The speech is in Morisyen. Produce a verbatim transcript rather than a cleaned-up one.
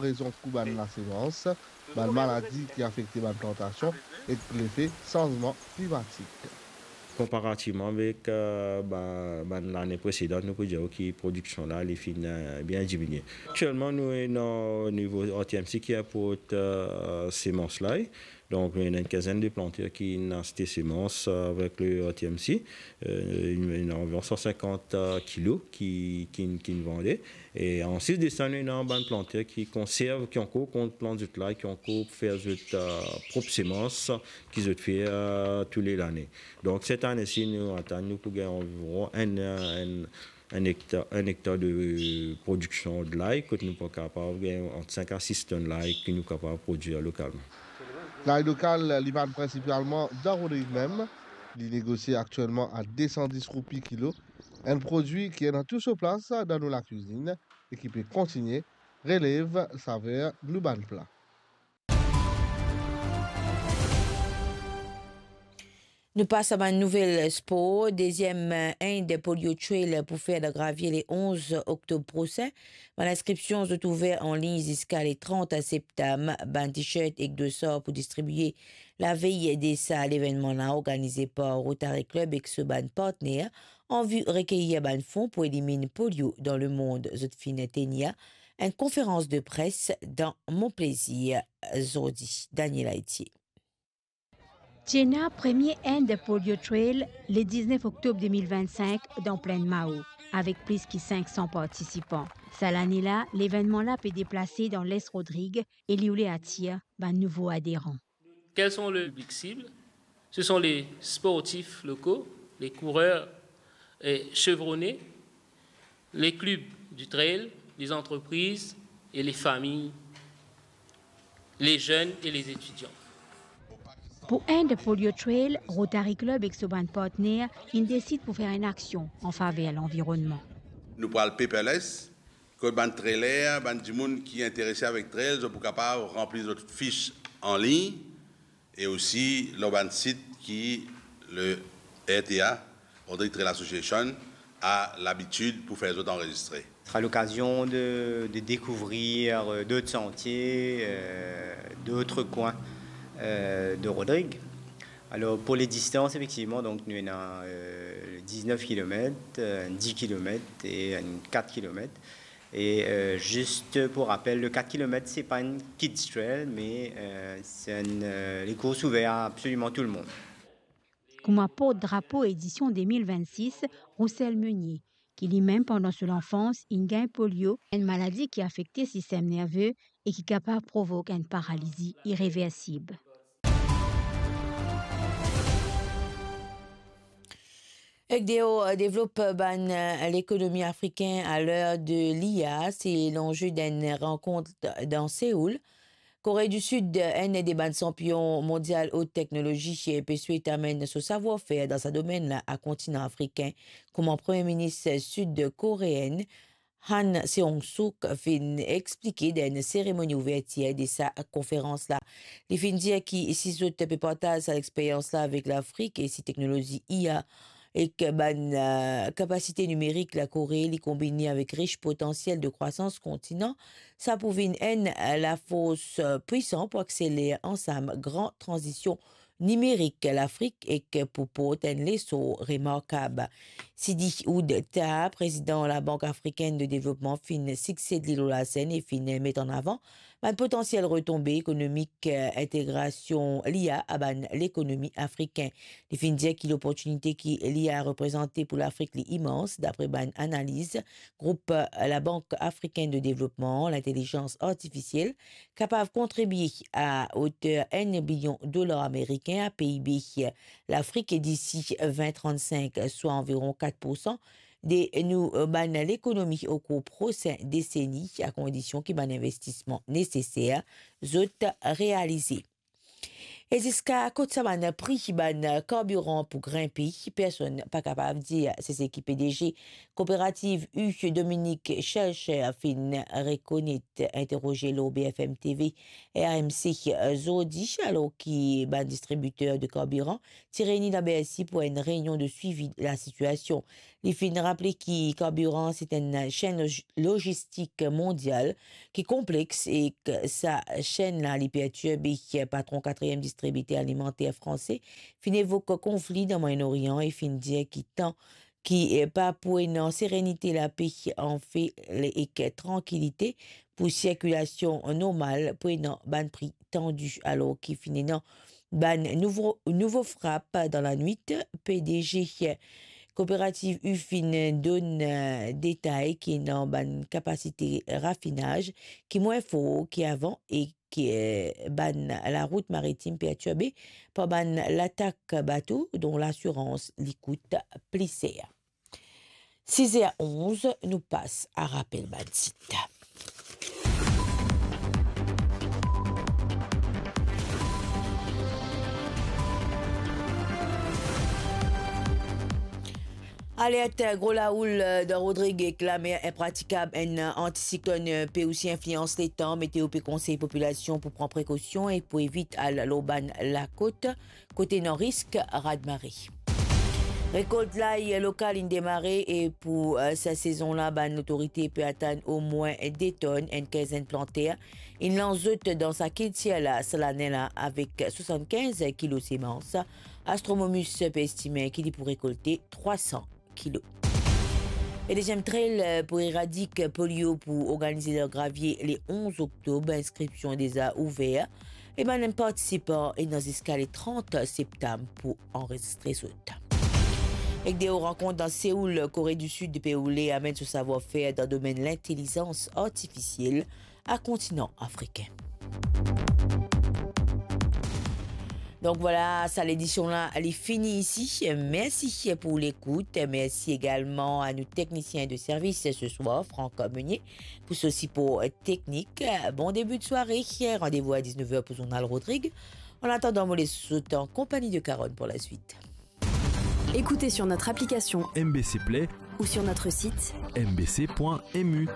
rezon kou bann lasemans, bann maladi ki afekte bann plantasion ek lefe sanzman klimatik. Konparativman avek, eh, ba-, bann lane presedan, nou pou dir ki prodiksion la, li finn, eh, bien diminie. Aktielman, nou ena nivo R T M C ki inport, eh, semans lay. Donk, nou ena enn kinzenn de planter ki inn aste semans avek le R T M C. Eh, ena anviron san sinkant, eh, kilo ki, ki, ki inn vande. E anplis de sa, nou ena bann planter ki konserv, ki ankor konserv zot lay, ki ankor fer zot, eh, prop semans ki zot fer, eh, tou le lane. Donk, set ane si nou atann, nou pou gagn anviron enn, enn, enn ektar, enn ektar de prodiksion de lay, kot nou pou kapav gagn ant sink a sis tonn lay ki nou kapav prodwir lokalman. Lay lokal, li vann prinsipalman dan Rodrig mem. Li negosie aktielman a de san dis roupi kilo. Enn prodwi ki ena tou so plas dan nou lakwizinn e ki pe kontigne relev saver nou bann pla. Nou pas a bann nouvel spor. Deziem, eh, End Polio Trail pou fer dan Gravie le onz oktob prosin. Bann inskripsion zot ouver anlign ziska le trant septam. Bann t-shirt ek dosar pou distribie lavey de sa levennman la, organize par Rotary Club ek so bann partner, an vi rekeyir bann fon pou eliminn polio dan lemond. Zot finn tenir enn konferans de pres dan Mon Plezir zordi. Daniel Aitier. Ti ena premie End Polio Trail le diznef oktob de mil vennsink dan Plinn Mao, avek plis ki sink san partisipan. Sa lane la, levennman la pe deplase dan Les Rodrig e li oule atir bann nouvo aderan. Quels sont le public cible ? Ce sont les sportifs locaux, les coureurs, eh, chevronnés, les clubs du trail, les entreprises et les familles, les jeunes et les étudiants. Pou End Polio Trail, Rotary Club ek so bann partner inn desid pou fer enn aksion an faver lanvironnman. Nou pou al paperless, kot bann trailer, bann dimoun ki interese avek trail, zot pou kapav ranpli zot fis anlign, e osi lor bann sit ki le R T A, Rodrig Trail Association, a labitid pou fer zot anrezistre. Ce sera l'occasion de, de découvrir, euh, d'autres sentiers, euh, d'autres coins, euh, de Rodrig. Alors, pour les distances, effectivement, donc, nou ena, euh, diznef kilomet, euh, dis kilomet e kat kilomet. Et, euh, juste pour rappel, le quatre kilomètres, c'est pas une kids trail, mais, euh, c'est une, euh, les courses ouvertes à absolument tout le monde. Kouma port drapo edision de mil vennsis, Roussel Meunier, ki limem pandan so lanfans inn gagn polio, enn maladi ki afekte sistem nerve e ki kapav provok enn paralizi ireversib. Ek deor devlop bann lekonomi afrikin a ler de l'I A, se lanze d'enn rankont dan Seoul. Kore di Sid, enn de bann sanpion mondial ot teknolozi, pe swet amenn so savwar-fer dan sa domenn la a kontinan afrikin, kouma Premie Minis sid koreen Han Seong-suk finn explike dan enn seremoni ouvertir de sa konferans la. Li finn dir ki si zot pe partaz sa lexperyans la avek Lafrik e si teknolozi I A ek bann, eh, kapasite nimerik Lakore li konbine avek ris potansiel de krwasans kontinan, sa pou vinn enn lafors, eh, pwisan pou akseler ansam gran tranzision nimerik Lafrik ek pou port enn lesor remarkab. Sidi Ould Tah, prezidan Labank Afrikenn de Devlopman, finn siksed li lor lasenn e finn met an avan bann potansiel retonbe ekonomik, eh, integrasion l'I A a bann lekonomi afrikin. Li finn dir ki loportinite ki l'I A reprezante pou Lafrik li imans, dapre bann analiz group, eh, Labank Afrikenn de Devlopman, lintelizans artifisiel kapav kontribie a oter enn bilion dolar amerikin a P I B Lafrik disi vin trannsink, swa anviron kat poursan de nou bann lekonomi okour prosin deseni, a kondision ki bann investisman neseser zot realize. E ziska kot sa bann pri bann karbiran pou grinpe, personn pa kapav dir. Se seki P D G kooperativ U, Dominique Schelcher, finn rekonet, interoze lor B F M T V, R M C, zordi, alor ki bann distribiter de karbiran ti reyni dan Bercy pou enn reynion de swivi lasitiasion. Li finn raple ki karbiran se enn senn loj-, lojistik mondial ki konplex e ki sa senn la li pertirbe. Patron katriem distribiter alimanter franse finn evok konfli dan Moyen-Orient e finn dir ki tan ki, eh, pa pou ena serenite, lape, anfe, le-, ek trankilite pou sirkilasion normal, pou ena bann pri tandi, alor ki finn ena bann nouvo, nouvo frap dan lanwit. P D G kooperativ U finn donn, eh, detay ki ena bann kapasite rafinaz ki mwin for ki avan e ki, eh, bann larout maritim pertirbe par bann latak bato, donk lasirans li kout pli ser. Siz er onz, nou pas a rapel bann tit. Alert gro laoul dan Rodrig ek lamer inpratikab, enn antisiklonn pe osi inflians letan. Meteo pe konsey popilasion pou pran prekosion e pou evit al lor bann lakot kot ena risk radmare. Rekolt lay lokal inn demare e pou, eh, sa sezon la, bann lotorite pe atann omwin de tonn, enn kinzenn planter inn lans zot dan sa kiltir la, sa lane la, avek swasannkinz kilo semans. Astronomus pe estime ki li pou rekolte trwa san kilo. E deziem trail, eh, pou eradiker polio pou organize dan Gravie le onz oktob. Inskripsion deza ouver. E bann partisipan ena ziska le trant septam pou anrezistre zot. Ek de rankont dan Seoul, Kore di Sid pe oule amenn so savwar-fer dan domenn lintelizans artifisiel a kontinan afrikin. Donk vwala, sa ledision la, li fini isi. Mersi pou lekout. Mersi egalman a nou teknisien de servis se swar, Franck Meunier, pou so sipor teknik. Bon debi de sware. Randevou a diznef er pou zournal Rodrig. An atandan, mo les zot an konpagni de Carole pou laswit. Écoutez sur notre application M B C Play ou sur notre site M B C point M U.